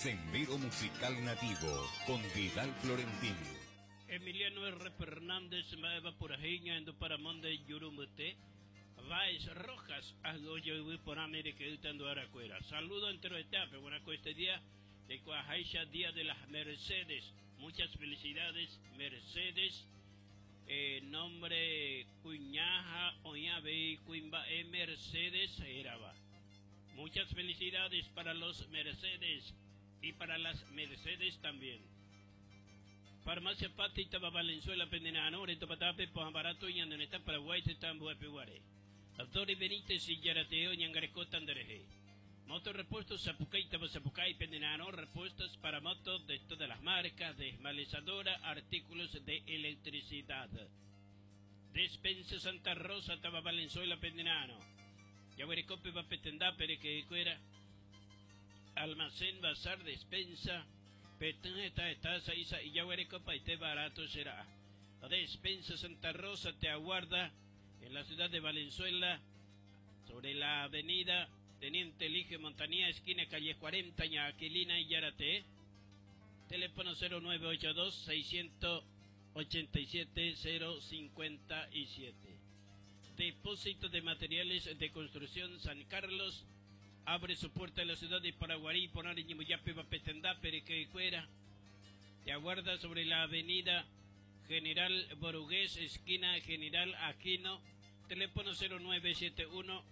Sendero Musical Nativo con Vidal Florentín. Emiliano R. Fernández mba'éva purahéi ñahendu Paramonde juru mbyte, Báez Rojas, ahy'ojo yvy porãme reke'ýta nduarakuéra. Saludo enteroetéape, buena ko este día jaikuaaháicha Día de las Mercedes. Muchas felicidades Mercedes. Eh, nombre kuña ha oĩ avei kuimba'e Mercedes hérava. Muchas felicidades para los Mercedes y para las Mercedes también. Farmacia Patti táva Valenzuela pendera'arõ retopatápe pohã barato ñane retã Paraguái tetã ambuepeguare. Dori Benítez ijaratee oñangarekóta nderehe. Moto repuesto Sapukái táva Sapukái pendera'arõ repuestos para moto de todas las marcas, desmalezadora, artículos de electricidad. Despensa Santa Rosa táva Valenzuela pendera'arõ. Jaguereko péva pe tendápe reke'ykuéra, almacén, bazar, despensa, petỹ heta heta sa'i sa'i jaguerekopaite barato che ra'a. Despensa Santa Rosa te aguarda en la ciudad de Valenzuela, sobre la avenida Teniente Eligio Montanía, esquina calle 40, Ña Aquilina Ijarate. Teléfono 0982 687 057. Depósito de Materiales de Construcción San Carlos abre su puerta en la ciudad de Paraguarí, Ponare, Ñemboyape, Bapetendá, Perequecuera. Te aguarda sobre la avenida General Borugués, esquina General Aquino, teléfono 0971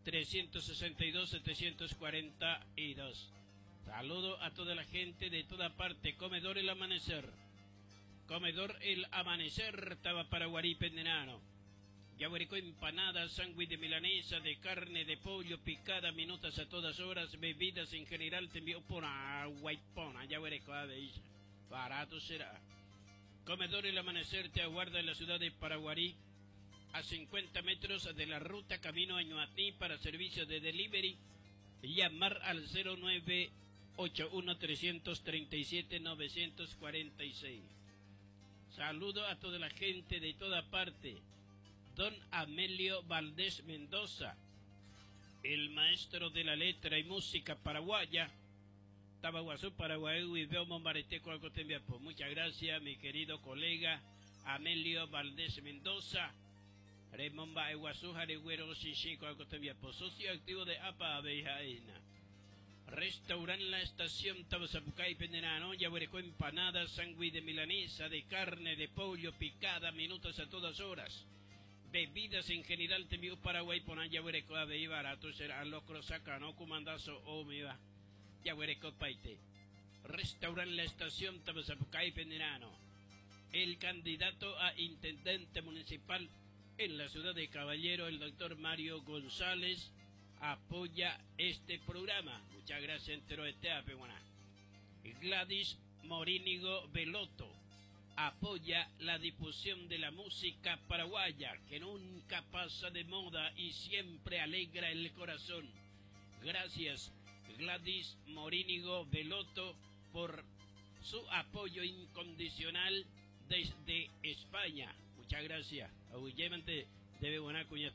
362 742. Saludo a toda la gente de toda parte. Comedor El Amanecer. Comedor El Amanecer, estaba Paraguarí, Pendenano. Yaguarecó empanadas, sándwich de milanesa, de carne, de pollo, picada, minutas a todas horas, bebidas en general, te envío por agua y pona, Yaguarecó, Barato será. Comedor El Amanecer te aguarda en la ciudad de Paraguarí, a 50 metros de la ruta camino a Ñuatí para servicio de delivery. Llamar al 0981 337 946. Saludo a toda la gente de toda parte. Don Amelio Valdés Mendoza, el maestro de la letra y música paraguaya. Tabaguazú, Paraguay, y veo Muchas gracias, mi querido colega Amelio Valdés Mendoza. Remomba Eguazú, Jaregüero, Chichico, Socio activo de APA Abejaena. Restaurant La Estación Tabazapucay, Penderano, Yabuereco, empanadas, sándwich de milanesa, de carne, de pollo, picada, minutos a todas horas. Bebidas en general, te envío Paraguay, ponan Yabuereco, Abey, barato, será locro, sacano, comandazo, o me va. Yabuereco, paite. Restaurant La Estación Tabazapucay, Penderano. El candidato a intendente municipal en la ciudad de Caballero, el doctor Mario González, apoya este programa. Muchas gracias, entero este Gladys Morínigo Veloto apoya la difusión de la música paraguaya, que nunca pasa de moda y siempre alegra el corazón. Gracias, Gladys Morínigo Veloto, por su apoyo incondicional desde España. Muchas gracias. Debe buena cuña.